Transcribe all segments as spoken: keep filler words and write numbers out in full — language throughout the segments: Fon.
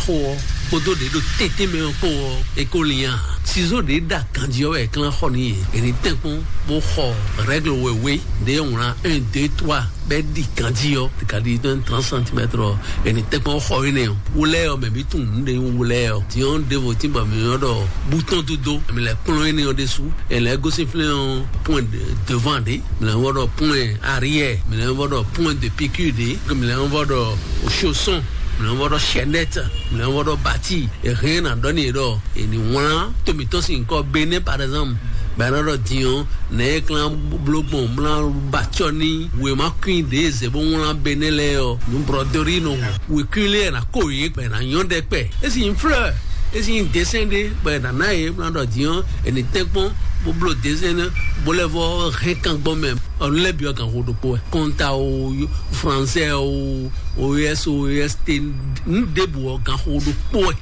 Xo ɔ́ kpódó ɖě ɖo tɛ́ntɛ́n mɛ ɔ́ kpó ɔ́, é ko lian. Sizó ɖě ɖa ganjí ɔ́ wɛ è klán xɔ n'i. È nǐ tɛ́nkpɔ́n bó xɔ règle wěwé ɖě wlán un, deux, trois, bɛ́ ɖi ganjí ɔ́, kadi tɔn trente centimètres ɔ́, è nǐ tɛ́nkpɔ́n xɔ énɛ́ ɔ́. Wlɛ́ ɔ́, mɛ bí tunwun nǔ ɖé nyí wlɛ́ ɔ́. Din ɔ́, ɖěvo tín bɔ mǐ ɔ́ ɖɔ bouton du dó, mǐ lɛ́ kplɔ́n énɛ́ ɔ́ ɖésú. È lɛ́ gosín flɛ́n ɔ́, point de devant ɖé, mǐ lɛ́ vɔ ɖɔ point arrière, mǐ lɛ́ vɔ ɖɔ point de piqûre ɖé, mǐ lɛ́ vɔ ɖɔ chausson, mǐ lɛ́ vɔ ɖɔ chaînette, mǐ lɛ́ vɔ ɖɔ bati. È hɛn ná ɖɔ n'i ɖɔ è nǐ wlán to mǐtɔn sín nyǐkɔ Benɛ́, par exemple, bɔ è nɔ ɖɔ din ɔ́, nɛ̌ é klán bló gbɔn mlá ba acɔ́ ní wěma kwín ɖě zě bó wlán Benɛ́ lɛ́ɛ ɔ́, nǔ brɔdori nɔ wěkwín lɛ́ɛ ná ko yě gbɛ ná nyɔ́ ɖɛkpɛ. É sì nyí fleur, é sì nyí dessin ɖé, bɔ è nǎ ná yě mlá ɖɔ din ɔ́, è nǐ tɛ́nkpɔ́n bó bló dessin ná, bó lɛ́ vɔ hɛn kan gbɔn mɛ. Ɔnu lɛ́ byɔ́ ganxo ɖokpó wɛ. Kɔnta o, français o, O S o, O S T, nǔ ɖěbǔ ɔ́ ganxo ɖokpó wɛ.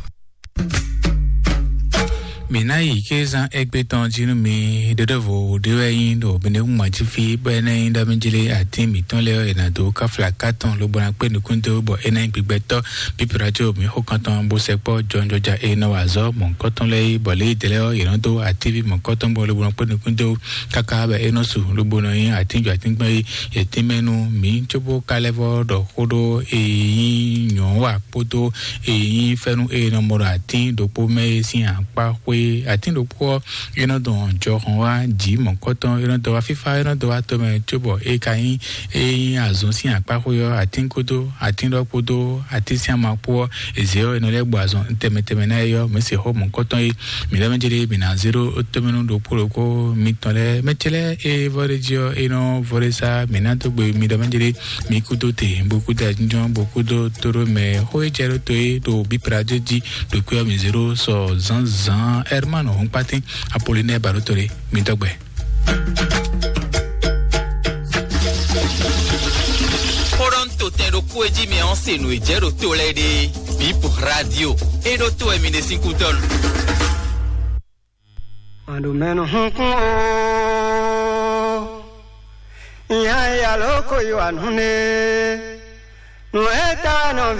Mǐ ná yi kézán égbé tɔn jí nú mi. Ɖeɖevo ɖé wɛ nyí ɖo Benɛ́kún jí fí, bɔ é ná nyí ɖɔ mí jlé atín mǐtɔn lɛ́ɛ ɔ́, è nǎ dó káfla ká tɔn lobo ná kpé nukún dó, bɔ é ná nyí gbigbɛtɔ́. Pípirá có mǐ xo kan tɔn bó sɛkpɔ́ jɔnjɔja e nɔ wa azɔ̌ mɔ̌hunkɔtɔn lɛ́ɛ é, bɔ lě e dɛ̌ lɛ́ɛ ɔ́, yě nɔ dó atíví mɔ̌hunkɔtɔn bɔ lobo nɔ kpé nukún dó káká bɔ é nɔ su lobo nɔ nyí atínjɔ atínkpɛ́n é. Yě tínmɛ nú mǐ cóbó ka lɛ́ vɔ ɖɔ xó ɖó e nyí nyɔ̌wa kpódó e nyí fɛ́nú e nɔ mɔ ɖo atín ɖokpó mɛ é sín akpá xwé. Atín ɖokpó ɔ́, é nɔ dɔn jɔhɔn wá jǐ mɔ̌kɔtɔn, é nɔ dɔn wá fífá, é nɔ dɔn wá tomɛ cóbɔ é ka nyí é nyí azɔn sín akpá xwé ɔ́, atín kpódó atín ɖɔ kpódó atín sín ama kpó ɔ́, è zě ɔ́, è nɔ lɛ́ gbɔ azɔn tɛnmɛ tɛnmɛ ná é ɔ́, mǐ se xó mɔ̌kɔtɔn é. Mǐ lɛ́ mɛ jlé mǐ ná zé ɖó tómɛnú ɖokpó ɖokpó mitɔn lɛ́ɛ. Mɛ ce lɛ́ɛ e vɔ ɖé jí ɔ́, é nɔ vɔ ɖé sá mǐ ná dó gbe mi ɖɔ mɛ jlé mi kúdó te, bó kúdó ajínjɔ́n, bó kúdó tóɖó mɛ xó e jɛ ɖó to é ɖo bíplá jɛ jí ɖo kwé ɔ́ mǐ zé ɖó sɔ zǎnzǎn. Hermano Hɔnkpátín Apolinɛ́ɛ Baɖótole, mi dɔgbɛ. Xó ɖɔ ń to tɛn ɖokpó e jí mɛ ɔ́ se nǔ e jɛ ɖo to lɛ́ɛ ɖe. Bíp Radio, é ɖó to wɛ mi ɖe sín kúdɔ́nu. Màɖǒmɛnu hunkún o, ìyá ìyá ló kó yí wà nú ne. Nǔ e ta wɛ nɔ